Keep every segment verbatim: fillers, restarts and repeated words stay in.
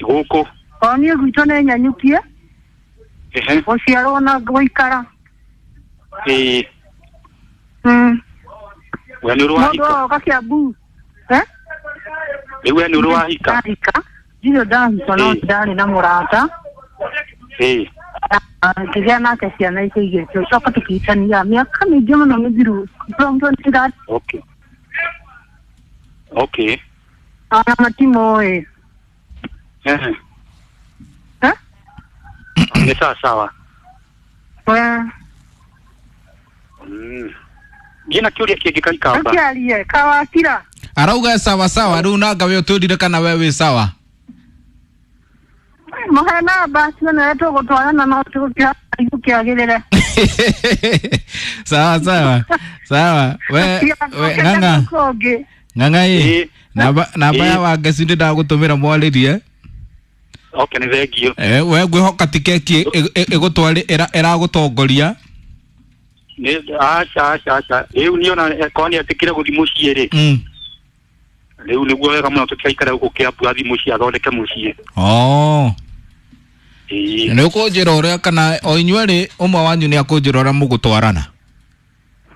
Gũkũ. O niĩ gwitũ nĩ nyanyukie. Ehe. Gũciarwo na gũikara. Ĩĩ. Mm. We nĩ ũrĩ Mũndũ wahika? oka Kiambu. Eh? Rĩu we nĩ ũrĩ wahika? Ndahika. Ndirĩ ndahika no Ĩĩ. ndarĩ na mũrata. Ĩĩ. Ngĩgĩa nake ciana icio igĩrĩ tũgĩcoka tũkĩhikania mĩaka mĩingĩ mũno mĩthiru from twenty thirteen. Okay. Okay. Ona matimoĩ. Ehe. Eh? Nĩ sawa sawa. We. Mm. Ngĩna kĩũria kĩngĩ Kaikamba. Ũkĩarie kawakira. Arauga sawa sawa rĩu nanga we ũtwĩrire kana we wĩ sawa. Mũhe namba tuone tũgũtwarana no tũkĩagĩrĩre. Sawa sawa. Sawa. We we ng'ang'a. Kũngĩ. Ng'ang'a ĩ. Ĩĩ. Namba namba ya Ĩĩ. Wangeci ndĩ ndagũtũmĩra mwarĩrie. Okay, nĩ thengio. Eh, we ngwĩhoka tiketi ĩgũtwarĩ ĩragũtongoria. Nĩ aca aca aca. Rĩu niĩ ona korwo nĩ etĩkire gũthiĩ mũciĩ rĩ. Mm. Rĩu nĩguo wega mũno tũtigaikare gũkũ Kiambu athiĩ mũciĩ athondeke mũciĩ. Oh. Ĩĩ. Nĩ ũkũnjĩra ũrĩa kana o inyuerĩ ũmwe wanyu nĩ akũnjĩra ũrĩa mũgũtwarana.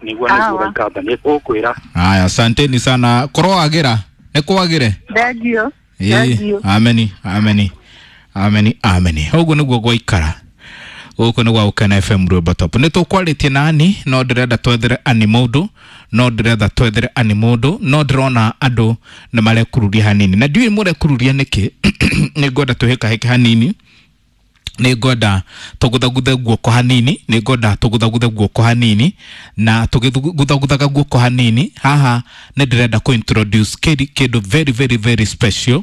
Nĩguo nĩguo Sawa. Kaikamba nĩ tũkwĩra. Aya, asanteni sana. Kũroagĩra. Nĩ kwagĩre. Thengio. Ĩĩ, Thengio. ameni, ameni. Ameni, ameni. Ũguo nĩguo gwaikara. Gũkũ nĩ gwa Gũkena F M Rwĩmbo Top. Nĩ tũkwarĩtie na Ani, no ndĩrenda twethere Ani mũndũ, no ndĩrenda twethere Ani mũndũ, no ndĩrona andũ nĩ marekururia hanini. Na ndiũĩ mũrekururia nĩkĩ, nĩ ngwenda twĩhĩkahĩke hanini. Nĩ ngwenda tũguthaguthe guoko hanini, nĩ ngwenda tũguthaguthe guoko hanini, na tũgĩguthaguthaga guoko hanini, haha nĩ ndĩrenda kũ introduce kĩndũ kĩndũ very very very special.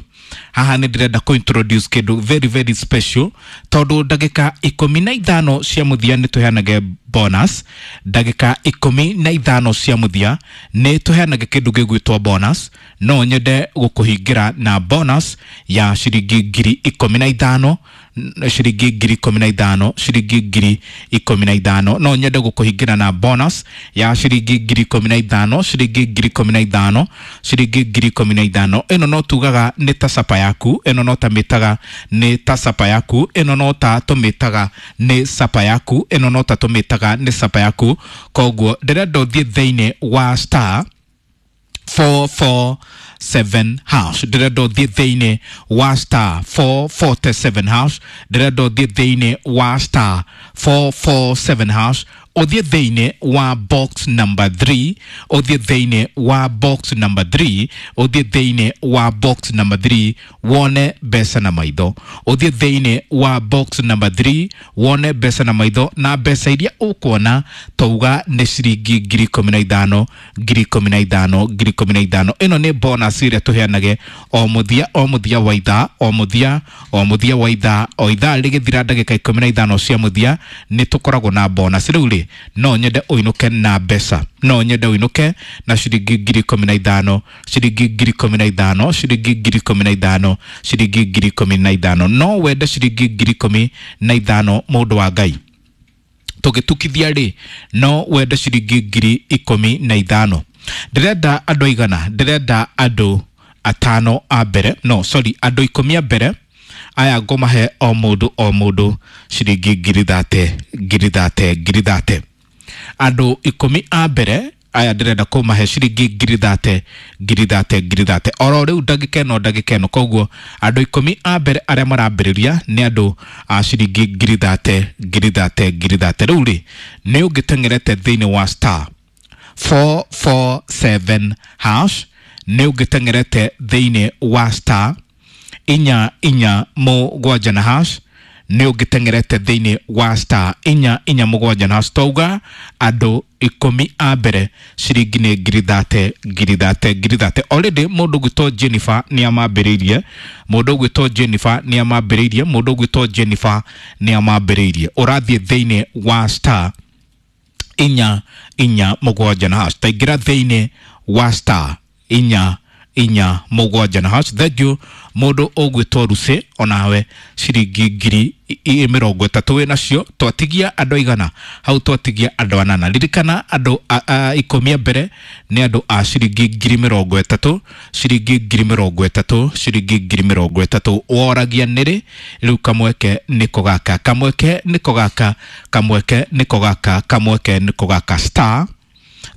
Haha nĩ ndĩrenda kũ introduce kĩndũ very very special, tondũ ndagĩka ikũmi na ithano cia mũthia nĩ tũheanage bonus. Ndagĩka ikũmi na ithano cia mũthia nĩ tũheanage kĩndũ gĩgwĩtwo bonus. No nyende gũkũhingĩra na bonus ya ciringi ngiri ikũmi na ithano, ciringi ngiri ikũmi na ithano, ciringi ngiri ikũmi na ithano. No nyende gũkũhingĩra na bonus ya ciringi ngiri ikũmi na ithano, ciringi ngiri ikũmi na ithano, ciringi ngiri ikũmi na ithano. Ĩno no tugaga nĩ ta sapa yaku, ĩno no ta mĩtaga nĩ ta sapa yaku, ĩno no ta tũmĩtaga nĩ sapa yaku, ĩno no ta tũmĩtaga nĩ sapa yaku. Koguo ndĩrenda ũthiĩ thĩinĩ wa star four four seven hash. Ndĩrenda ũthiĩ thĩinĩ wa star four four seven hash. Ndĩrenda ũthiĩ thĩinĩ wa star four four seven hash. Ũthiĩ thĩinĩ wa box number three. Ũthiĩ thĩinĩ wa box number three. Ũthiĩ thĩinĩ wa box number three wone mbeca na maitho. Ũthiĩ thĩinĩ wa box number three wone mbeca na maitho, na mbeca iria ũkuona tauga nĩ ciringi ngiri ikũmi na ithano, ngiri ikũmi na ithano, ngiri ikũmi na ithano. Ĩno nĩ bonus ĩrĩa tũheanage o mũthia, o mũthia wa ithaa, o mũthia, o mũthia wa ithaa, o ithaa rĩgĩthira ndagĩka ikũmi na ithano cia mũthia nĩ tũkoragwo na bonus. Rĩu rĩ, no nyende ũinũke na mbeca, no nyende ũinũke na ciringi ngiri ikũmi na ithano, ciringi ngiri ikũmi na ithano, ciringi ngiri ikũmi na ithano, ciringi ngiri ikũmi na ithano. No wende ciringi ngiri ikũmi na ithano mũndũ wa Ngai. Tũgĩtukithia rĩ, no wende ciringi ngiri ikũmi na ithano. Ndĩrenda andũ aigana? Ndĩrenda andũ atano a mbere, no sorry, andũ ikũmi a mbere. Aya ngũmahe o mũndũ o mũndũ ciringi ngiri thate, ngiri thate, ngiri thate. Andũ ikũmi a mbere aya ndĩrenda kũmahe ciringi ngiri thate, ngiri thate, ngiri thate. Oro rĩu ndagĩka ĩno, ndagĩka ĩno. Koguo andũ ikũmi a mbere arĩa marambĩrĩria nĩ andũ a ciringi ngiri thate, ngiri thate, ngiri thate. Rĩu rĩ, nĩ ũngĩteng'erete thĩinĩ wa star four four seven hash, nĩ ũngĩteng'erete thĩinĩ wa star inya inya mũgwanja na hash, nĩ ũngĩteng'erete thĩinĩ wa star inya inya mũgwanja na hash. Twauga andũ ikũmi a mbere ciringi nĩ ngiri thate, ngiri thate, ngiri thate. Already mũndũ ũgwĩtwo Jennifer nĩ amambĩrĩirie, mũndũ ũgwĩtwo Jennifer nĩ amambĩrĩirie, mũndũ ũgwĩtwo Jennifer nĩ amambĩrĩirie. Ũrathiĩ thĩinĩ wa star inya inya mũgwanja na hash. Taingĩra thĩinĩ wa star inya inya mũgwanja na hash. Thank you Mũndũ ũgwĩtwo Lucy, onawe ciringi ngiri mĩrongo ĩtatũ wĩ nacio. Twatigia andũ aigana hau? Twatigia andũ anana. Ririkana andũ ikũmi a mbere nĩ andũ a ciringi ngiri mĩrongo ĩtatũ, ciringi ngiri mĩrongo ĩtatũ, ciringi ngiri mĩrongo ĩtatũ. Woragia nĩrĩ? Rĩu kamweke nĩko gaka, kamweke nĩko gaka, kamweke nĩko gaka, kamweke nĩko gaka. Star.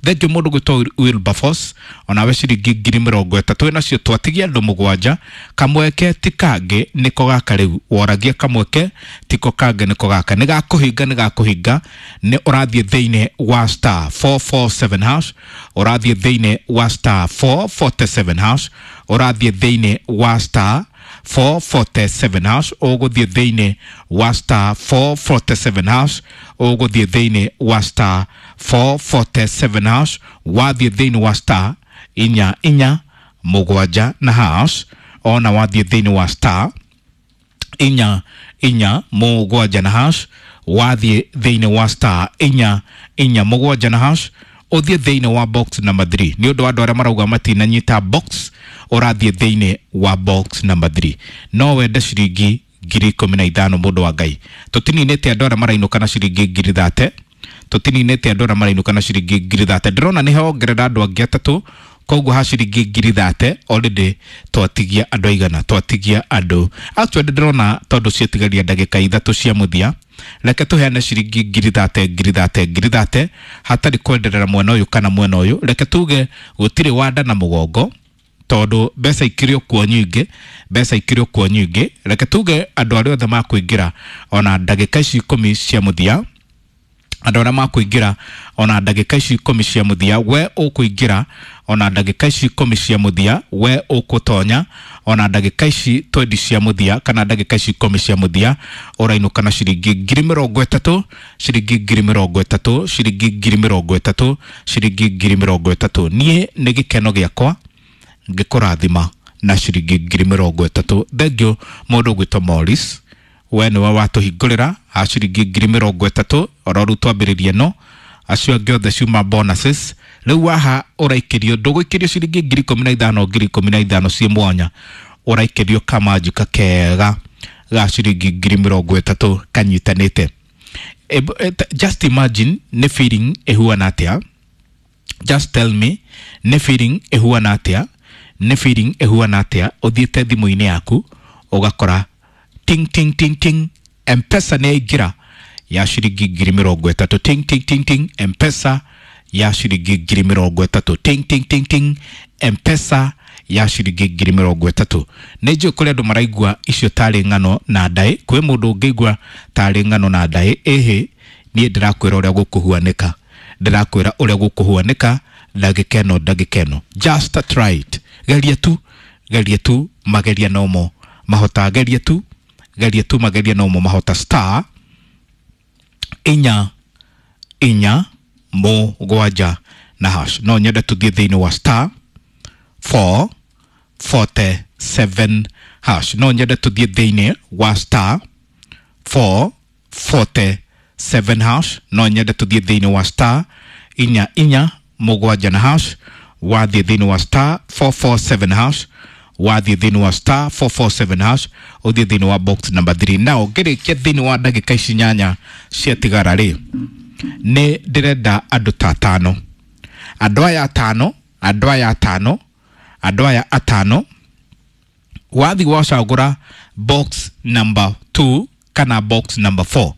Thengiũ mũndũ gwĩtwo Wilberforce, onawe ciringi ngiri mĩrongo ĩtatũ nacio. Twatigia andũ mũgwanja. Kamweke ti kangĩ, nĩko gaka. Rĩu woragia kamweke tiko kangĩ, nĩko gaka. Nĩ gakũhinga, nĩ gakũhinga. Nĩ ũrathiĩ thĩinĩ wa star four four seven hash, ũrathiĩ thĩinĩ wa star four forty seven hash, ũrathiĩ thĩinĩ wa star four forty seven hash, ũgũthiĩ thĩinĩ wa star four forty seven hash, ũgũthiĩ thĩinĩ wa star four forty seven hash. Wathiĩ thĩinĩ wa star inya inya mũgwanja na hash, ona wathiĩ thĩinĩ wa star inya inya mũgwanja na hash, wathiĩ thĩinĩ wa star inya inya mũgwanja na hash, ũthiĩ thĩinĩ wa box number three. Nĩ ũndũ wa andũ arĩa marauga matinanyita box, ũrathiĩ thĩinĩ wa box number three. No wende ciringi ngiri ikũmi na ithano, mũndũ wa Ngai. Tũtininĩte andũ arĩa marainũka na ciringi ngiri thate, tũtininĩte andũ arĩa marainũka na ciringi ngiri thate. Ndĩrona nĩ hongerera andũ angĩ atatũ, koguo ha ciringi ngiri thate already twatigia andũ aigana? Twatigia andũ, actually ndĩrona tondũ ciatigaria ndagĩka ithatũ cia mũthia, reke tũheane ciringi ngiri thate, ngiri thate, ngiri thate, hatarĩ kwenderera mwena ũyũ kana mwena ũyũ. Reke tuge gũtirĩ wanda na mũgongo, tondũ mbeca ikĩrĩ o kuo nyingĩ, mbeca ikĩrĩ o kuo nyingĩ. Reke tuge andũ arĩa othe makũingĩra ona ndagĩka ici ikũmi cia mũthia, andũ arĩa makũingĩra ona ndagĩka ici ikũmi cia mũthia, we ũkũingĩra ona ndagĩka ici ikũmi cia mũthia, we ũkũtonya ona ndagĩka ici twendi cia mũthia kana ndagĩka ici ikũmi cia mũthia, ũrainũka na ciringi ngiri mĩrongo ĩtatũ, ciringi ngiri mĩrongo ĩtatũ, ciringi ngiri mĩrongo ĩtatũ, ciringi ngiri mĩrongo ĩtatũ. Niĩ nĩ gĩkeno gĩakwa ngĩkũrathima na ciringi ngiri mĩrongo ĩtatũ. Thengiũ mũndũ ũgwĩtwo Morris, we nĩwe watũhingũrĩra ha ciringi ngiri mĩrongo ĩtatũ. Oro rĩu twambĩrĩrie, no acio angĩ othe ciuma bonuses. Rĩu waha ũraikĩrio, ndũgũikĩrio ciringi ngiri ikũmi na ithano, ngiri ikũmi na ithano ciĩ mwanya, ũraikĩrio kamanjika kega ga ciringi ngiri mĩrongo ĩtatũ kanyitanĩte. Just imagine nĩ feeling ĩhuana atĩa. Just tell me nĩ feeling ĩhuana atĩa, nĩ feeling ĩhuana atĩa ũthiĩte thimũ-inĩ yaku ũgakora ting ting ting ting, M-Pesa nĩ yaingĩra ya ciringi ngiri mĩrongo ĩtatũ. Ting ting ting ting, M-Pesa ya ciringi ngiri mĩrongo ĩtatũ. Ting ting ting ting, M-Pesa ya ciringi ngiri mĩrongo ĩtatũ. Nĩ njũĩ kũrĩ andũ maraigua icio tarĩ ng'ano na ndaĩ. Kwĩ mũndũ ũngĩigua tarĩ ng'ano na ndaĩ? Ĩhĩ, niĩ ndĩrakwĩra ũrĩa gũkũhuanĩka, ndĩrakwĩra ũrĩa gũkũhuanĩka ndagĩka ĩno, ndagĩka ĩno. Just try it, geria tu, geria tu, mageria nomo mahota. Geria tu, geria tu, mageria nomo mahota. Star inya inya mũgwanja na hash. No nyende tũthiĩ thĩinĩ wa star four forty seven hash, no nyende tũthiĩ thĩinĩ wa star four forty seven hash, no nyende tũthiĩ thĩinĩ wa star inya inya mũgwanja na hash. Wathiĩ thĩinĩ wa star four four seven hash, wathiĩ thĩinĩ wa star four four seven hash, ũthiĩ thĩinĩ wa box number three. Now ngĩrĩkia thĩinĩ wa ndagĩka ici nyanya ciatigara rĩ, nĩ ndĩrenda andũ ta atano, andũ aya atano, andũ aya atano, andũ aya atano. Wathi wacagũra box number two kana box number four,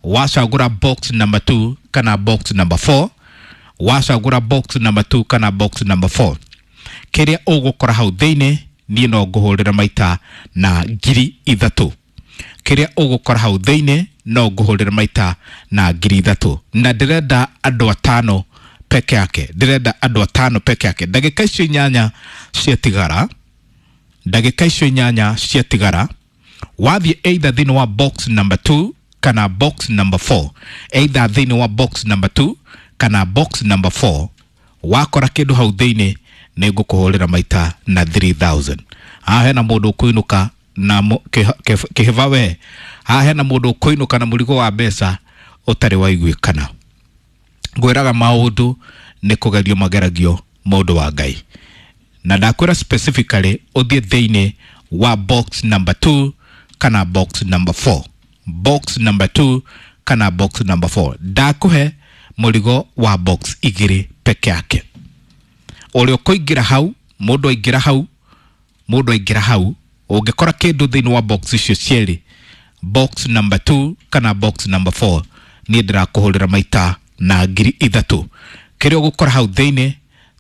wacagũra box number two kana box number four, wacagũra box number two kana box number four, kĩrĩa ũgũkora hau thĩinĩ niĩ no ngũhũrĩra maita na ngiri ithatũ. Kĩrĩa ũgũkora hau thĩinĩ no ngũhũrĩra maita na ngiri ithatũ. Na ndĩrenda andũ atano peke yake, ndĩrenda andũ atano peke yake. Ndagĩka icio inyanya ciatigara, ndagĩka icio inyanya ciatigara, wathiĩ either thĩinĩ wa box number two kana box number four, either thĩinĩ wa box number two kana box number four, wakora kĩndũ hau thĩinĩ nĩ ngũkũhũrĩra maita na three thousand. Haha hena mũndũ ũkũinũka na kĩhĩba we, haha hena mũndũ ũkũinũka na mũrigo wa mbeca ũtarĩ waiguĩkana. Ngwĩraga maũndũ nĩ kũgerio mageragio, mũndũ wa Ngai. Na ndakwĩra specifically ũthiĩ thĩinĩ wa box number two kana box number four. Box number two kana box number four. Ndakuhe mũrigo wa box igĩrĩ peke yake. Ũrĩa ũkũingĩra hau, mũndũ aingĩra hau, mũndũ aingĩra hau, ũngĩkora kĩndũ thĩinĩ wa box icio cierĩ, box number two kana box number four, niĩ ndĩrakũhũrĩra maita na ngiri ithatũ. Kĩrĩa ũgũkora hau thĩinĩ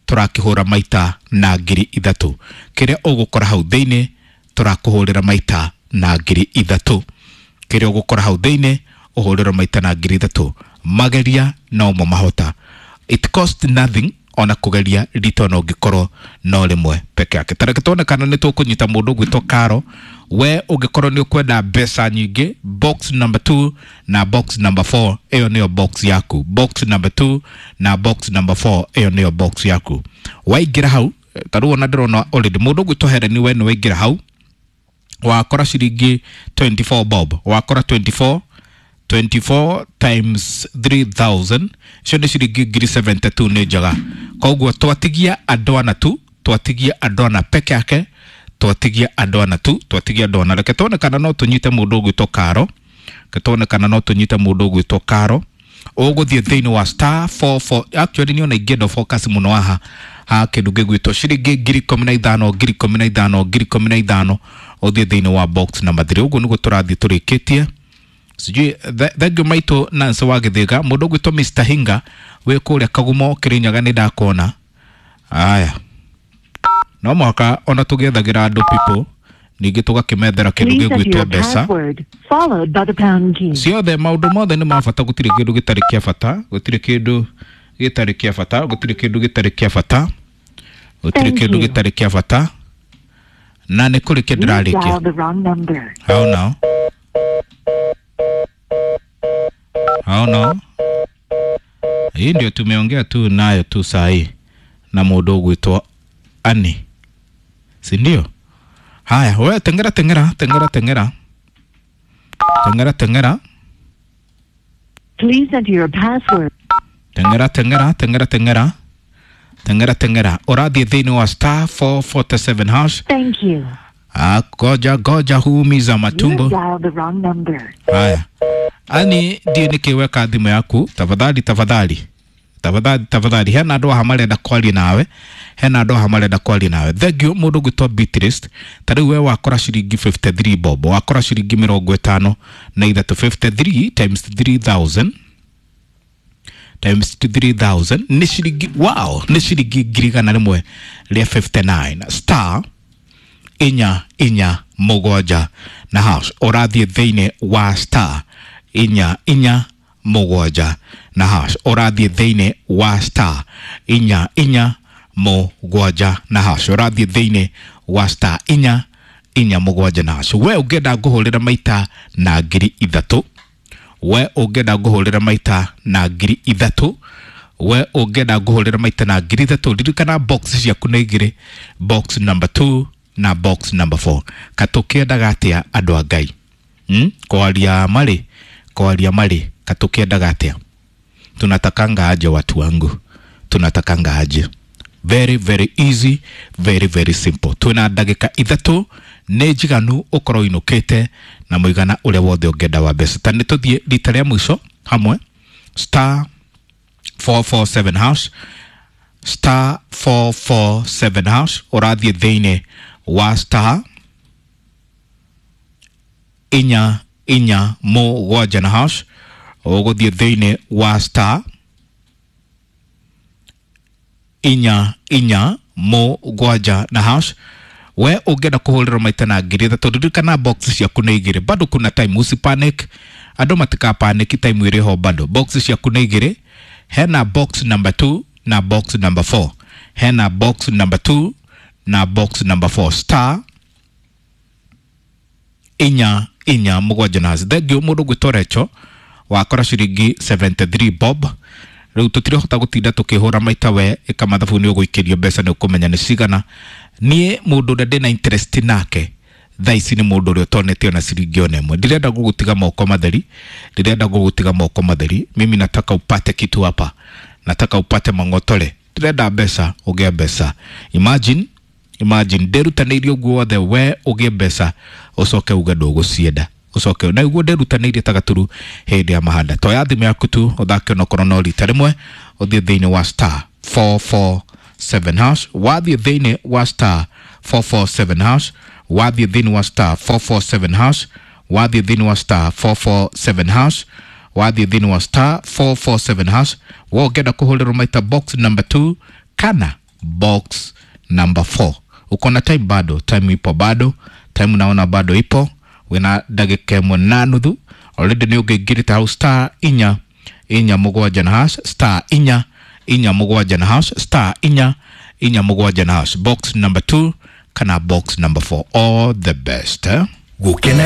tũrakĩhũra maita na ngiri ithatũ. Kĩrĩa ũgũkora hau thĩinĩ tũrakũhũrĩra maita na ngiri ithatũ. Kĩrĩa ũgũkora hau thĩinĩ ũhũrĩrwo maita na ngiri ithatũ. Mageria no mo mahota. It cost nothing ona kugeria rita ona ũngĩkorwo no rĩmwe peke yake. Ta reke tuone kana nĩ tũkũnyita mũndũ ũgwĩtwo Karo. We ũngĩkorwo nĩ ũkwenda mbeca nyingĩ, box number two na box number four ĩyo nĩyo box yaku. Box number two na box number four ĩyo nĩyo box yaku. Waingĩra hau, ta rĩu ona ndĩrona already mũndũ ũgwĩtwo Helen we nĩ waingĩra hau, wakora ciringi twenty-four bob, wakora twenty-four, twenty-four times three thousand icio nĩ ciringi ngiri seventy-two nĩ njega. Koguo twatigia andũ ana tu, twatigia andũ ana peke yake, twatigia andũ ana tu, twatigia andũ ana. Reke tuone kana no tũnyite mũndũ ũgwĩtwo Karo. Reke tuone kana no tũnyite mũndũ ũgwĩtwo Karo. Ũgũthiĩ thĩinĩ wa star four four, actually niĩ ona ingĩenda focus mũno haha ha kĩndũ gĩgwĩtwo ciringi ngiri ikũmi na ithano, ngiri ikũmi na ithano, ngiri ikũmi na ithano, ũthiĩ thĩinĩ wa box number three. Ũguo nĩguo tũrathiĩ tũrĩkĩtie. Sijui thank you maitũ Nancy wa Gĩthĩga. Mũndũ ũgwĩtwo Mister Hinga wĩ kũrĩa Kagumo Kĩrĩnyaga nĩ ndakuona. Aya, no mũhaka ona tũgĩethagĩra andũ people, ningĩ tũgakĩmethera kĩndũ Please enter gĩgwĩtwo your mbeca. password, followed by the pound key. Ciothe maũndũ mothe nĩ ma bata, gũtirĩ kĩndũ gĩtarĩ kĩa bata, gũtirĩ kĩndũ gĩtarĩ kĩa bata, gũtirĩ kĩndũ gĩtarĩ kĩa bata, gũtirĩ Thank kĩndũ you. gĩtarĩ kĩa bata. Na nĩ kũrĩ kĩ You ndĩrarĩkia. dialed the wrong number. How now? How now? Hii ndio tumeongea tu nayo tu saa hii na mũndũ ũgwĩtwo Annie, si ndio? Haya, we tengera tengera tengera tengera tengera tengera Please enter your password. tengera tengera tengera tengera tengera tengera. Ũrathiĩ thĩinĩ wa star four forty-seven hash. Thank you. Ah, goja goja huumiza You matumbo. dialed the wrong number. Haya, Ani ndiĩ nĩkĩ weka thimũ yaku. Tafadhali tafadhali tafadhali tafadhali, hena andũ aha marenda kwaria nawe, hena andũ aha marenda kwaria nawe. Thank you mũndũ ũgwĩtwo Beatrice. Ta rĩu we wakora ciringi fifty-three bob, wakora ciringi mĩrongo ĩtano na ithatũ, fifty-three times three thousand times three thousand nĩ ciringi, wow, nĩ ciringi ngiri igana rĩmwe rĩa fifty-nine. Star inya inya mũgwanja na hash. Ũrathiĩ thĩinĩ wa star inya inya mũgwanja na hash. Ũrathiĩ thĩinĩ wa star inya inya mũgwanja na hash. Ũrathiĩ thĩinĩ wa star inya inya mũgwanja na hash. We ũngĩenda ngũhũrĩra maita na ngiri ithatũ, we ũngĩenda ngũhũrĩra maita na ngiri ithatũ, we ũngĩenda ngũhũrĩra maita na ngiri ithatũ, ririkana box ciaku nĩ igĩrĩ, box number two na box number four. Katũkĩendaga atĩa andũ a Ngai? Hmm? Kwaria marĩ, kwaria marĩ, katũkĩendaga atĩa? Tunatakanga aje watu wangu? Tunatakanga aje? Very very easy, very very simple. Twina ndagĩka ithatũ nĩ njiganu ũkorwo ũinũkĩte na mũigana ũrĩa wothe ũngĩenda wa mbeca. Ta nĩ tũthiĩ rita rĩa mũico hamwe, star four four seven hash, star four four seven hash. Ũrathiĩ thĩinĩ wa star inya inya mũgwanja na hash. Ũgũthiĩ thĩinĩ wa star inya inya mũgwanja na hash. We ũngĩenda kũhũrĩrwo maita na ngiri ithatũ, ririkana box ciaku nĩ igĩrĩ, bado kuna time, usipanic, andũ matikapaniki, time ĩrĩ ho bado. Box ciaku nĩ igĩrĩ, hena box number two na box number four, hena box number two na box number four. Star inya inya mũgwanja na hash. Thank you mũndũ ũgwĩtwo Recho, wakora ciringi seventy-three bob. Rĩu tũtirahota gũtinda tũkĩhũra maita, we ĩka mathabu nĩ ũgũikĩrio mbeca nĩ ũkũmenya nĩ cigana. Niĩ mũndũ ũrĩa ndĩna interest nake thaa ici nĩ mũndũ ũrĩa ũtonete ona ciringi ona ĩmwe. Ndirenda gũgũtiga moko matheri, ndirenda gũgũtiga moko matheri. Mimi nataka upate kitu hapa, nataka upate mang'otore. Ndirenda mbeca, ũgĩe mbeca. Imagine, Imagine ndĩrutanĩirie ũguo wothe we ũgĩe mbeca ũcoke uge ndũgũcienda, ũcoke na ũguo ndĩrutanĩirie ta gaturu hĩndĩ ya mahanda. Toya thimũ yaku tu ũthake onokorwo no rita rĩmwe, ũthiĩ thĩinĩ wa star four four seven hash, wathiĩ thĩinĩ wa star four four seven hash, wathiĩ thĩinĩ wa star four four seven hash, wathiĩ thĩinĩ wa star four four seven hash, wathiĩ thĩinĩ wa star four four seven hash. We ũngĩenda kũhũrĩrwo maita box number two kana box number four. Uko na time bado, time ipo bado, time naona bado ipo, wina ndagĩka ĩmwe na nuthu already nĩ ũngĩingĩrĩte hau star inya inya mũgwanja na hash, star inya inya mũgwanja na hash, star inya inya mũgwanja na hash, box number two kana box number four. All the best, eh? Gukena.